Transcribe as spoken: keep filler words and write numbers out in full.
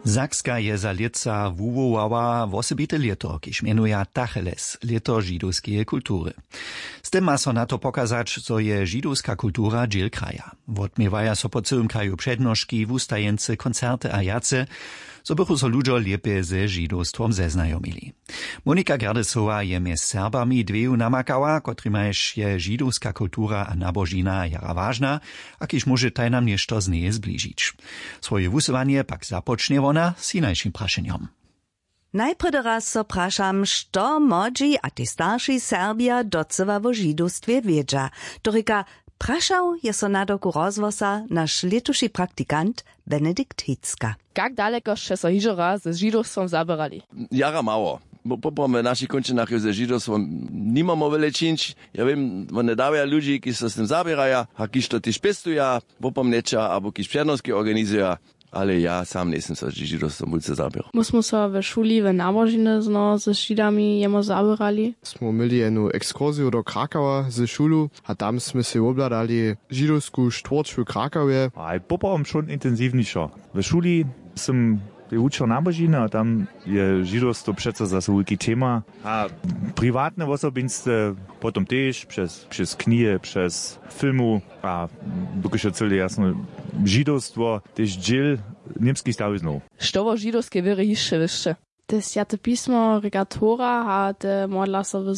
Sakska je za lětsa wuwołała wosebite lěto, kiž mjenuja tacheles, lěto židowskeje kultury. Z tym ma so na to pokazać, zo je židowska kultura dźěl kraja. Wotměwaja so po cyłym kraju přednoški, wustajeńcy, koncerty a wjace, zo bychu so ludźo lěpje ze židowstwom zeznajomili. Monika Gerdesowa je mjez Serbami dweju namakała, kotrimajž je židowska kultura a nabožina jara wažna, a kiž móže tajnam něšto z njeje zbližić. Swoje wusyłanje pak započnje wona z hinašim prašenjom. Najprjedy raz so prašam, što młodźi a tež starši Serbja docyła wo židowstwje wědźa. To rěka, prašał je so nadawku rozhłosa naš lětuši praktikant Benedikt Hicka. Kak daleko sće so hižo raz z židowstwom zaběrali? Jara mało. Bo poprawom w našich kónčinach je ze židowstwom nimamo wjele čińć. Ja wěm, wone dawja ludźi, kiž so z tym zaběraja a kiž to tež pěstuja, wopomnjeća abo kiž přednoski organizuja. Ale ja sam njejsym so z židowstwom wulce zaběrał. My smy so we šuli w nabožiny znoho z židami jemo zaběrali. Smy měli jednu ekskursiju do Krakawa ze šulu a tam smy sej wobhladali židowsku štwórć w Krakawje. A je poprawom wšón intensiwnišo. W šuli sym je wučer nabožiny a tam je židowstwo přeco zaso wulki tema. A priwatne wosobinstwo potom tež přez, přez knihe, přez filmu a dokelž je cyle jasno, židowstwo tež dźěl němskich stawiznow. Što wo židowskej wěrje hišće wěsće? Te swjate pismo, rěka Tora a te modla so w